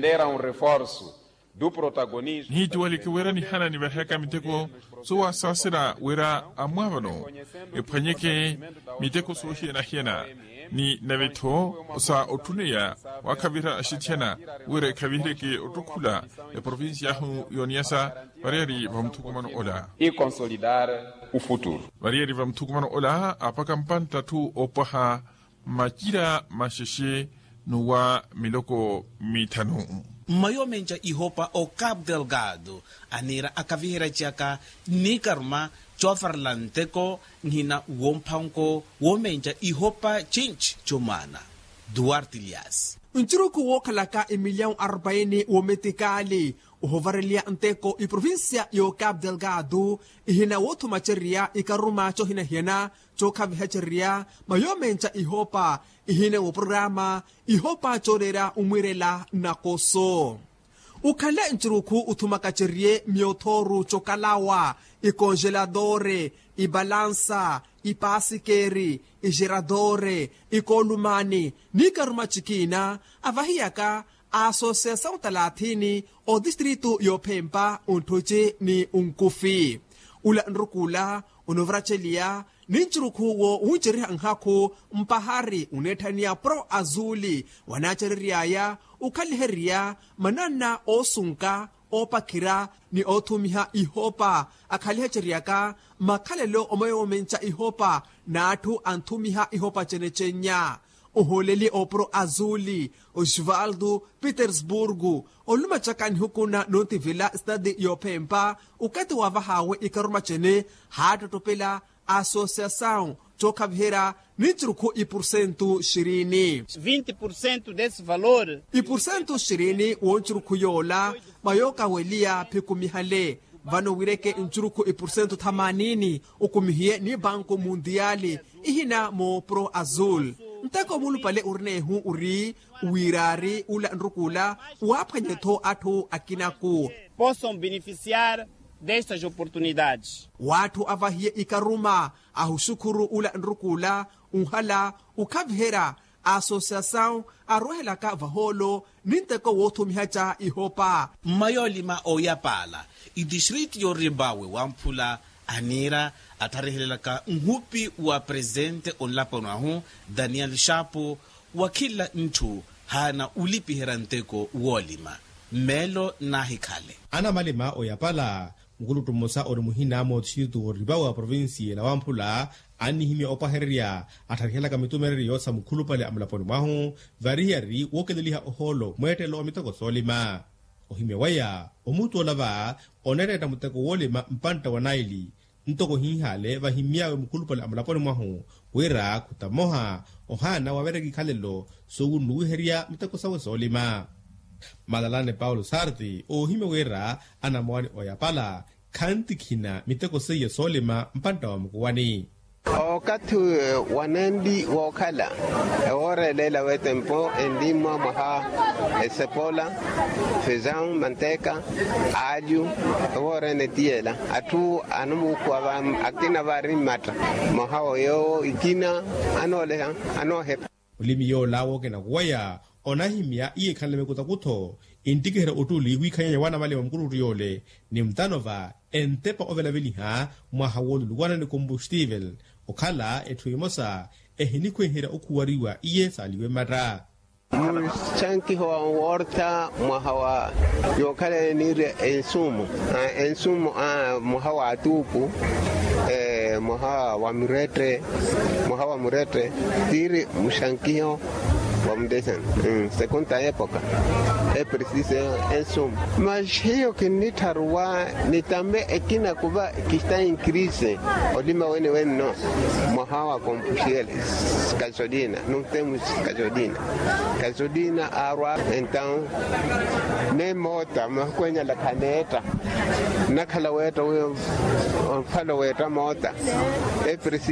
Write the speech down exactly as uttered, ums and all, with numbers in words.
Era un reforsu du protagonismo. Nihitti waleke wira nihana nivarihaka miteko soowasaasela wira amwaavano ephwanyeke miteko soohiyana-hiyana ni nave-tho sa otthuneya waakhavira axithiyana wira ekhavihereke ottukhula eprovincia ahu y'oniyasa. Variyari va muthukumano ola. Variyari va muthukumano ola apaka mpantta atthu oopwaha macira maxexe n'uwa miloko mithanu. Mmayomenca ihopa o capu delgado aniira akaviheryaciyaka n'ikaruma coovarela nteko nhina w'omphanko woomenca ihopa cinci comwaana duarte lias. Ncurukhu wookhalaka emilyawu arpaini w'ometikali ohovareliya nteko eprovincia y'ocapu delgado ihina woothumacerya ikaruma coohinahiyana cookhavihacerya mayoomenca ihopa ihina w'oprograma ihopa cooleera omwiirela nnakoso. Okhale ncurukhu othumakacerye myothooru cokalawa ikonjeladore ibalansa ipasikeri ijeradore ikoolumani n'ikaruma cikiina avahiyaka a asosiyasawu talathini otistritu y'ophempa ontthuci ni onkufi. Ula nrukuula onovaraceliya ni ncurukhu wo wunceriha nhakhu mpahari oneetthaniya pro azuli wanaacerery'aya okhaliherya mananna oosunka oopakhira ni oothumiha ihopa akhalihaceryaka makhalelo omayoomenca ihopa n'atthu anthumiha ihopa ecenecennya. Ohooleli opro azuli osvaldo petersburgo olumacaka nihukuna n'ontivela estadi y'ophempa okathi wavahaawe ikaruma cene haattotopela asosiyasawu cookhaviherya ni ncurukhu ipursentu xirini. Vinte pursentu desi valor. Ipursentu xirini w'oncurukhu yoola mayookaweliya phikumihale vano wireke ncurukhu ipursentu thamanini okumihiye ni banku mundiyali ihina moopro azul. Nteko mulupale ori n'ehu ori wiiraari ula nrukuula waaphwanye-tho atthu akinaku. Poson benefisiar destas oportunidades. W'atthu avahiye ikaruma ahuxukhuru ula nrukuula onhala okhaviherya asosiyasawu arwehelaka vahoolo ni nteko woothumihaca ihopa. Mmayoolima ooyapaala itistriti y'oribawe wamphula aniira attharihelelaka nhupi wa presente onlaponi ahu daniel shapo wa khila ntthu haana olipiherya nteko woolima mmeelo nnaahikhale. Anamalima oyapala mukuluttu mmosa ori muhina mootixitu woripawe wa provincia ela wamphula annihimya opwahererya attharihelaka mitumereryo sa mukhulupale a mulaponi mwahu varihiyari wookeleliha ohoolo mweettelo wa miteko soolima. Ohimya waya omuttoola va oneettetta muteko woolima mpantta wa naili ntoko ohinhaale vahimy'awe mukhulupale a mulaponi mwahu wira khuta mmoha ohaana waveryaka ikhalelo sowunnuwiherya miteko sawe soolima. Malalane paulo sarti oohimya wira anamowani oyapala khantikhina miteko seiya soolima mpantta wa mukuwani. Okathi wanandi wookhala ewoora eleela wetempo enlimwa mwaha esepola fezawu manteka alyu ewoora ene tiyela atthu anomuukhuwa akina vaari mmatta mwaha woyoowo ikina anooleha anoohepa. Mulimi yoola wookenakuwaya onahimya iye ekhanle mikutakutho enttikiherya ottuli wiikhanyanya waanamalima mukuluttu yoole ni mutano va entepa ovelaveliha mwaha wooluluwana ni kombustivel okhala etthu emosa ehinikhwenherya okhuwariwa iye saaliwe mmatta. Muxankiho wa worta mwaha wa yookhala eniirya ensumu ensumu mwaha wa atuuku mwaha wa murette mwaha wa murette tiiri muxankiho wa mudesana sekunta epoka epresise ensumu. Mas hiyo kinnitharuwa nitambe ekina kuva kista inkrise olima wene wenno mwaha wa kompuxiel kasolina nuntemus kasolina kasolina arwa entaw ne moota makwenya lakhaneta nakhala weta wiyo onfala weta moota epresi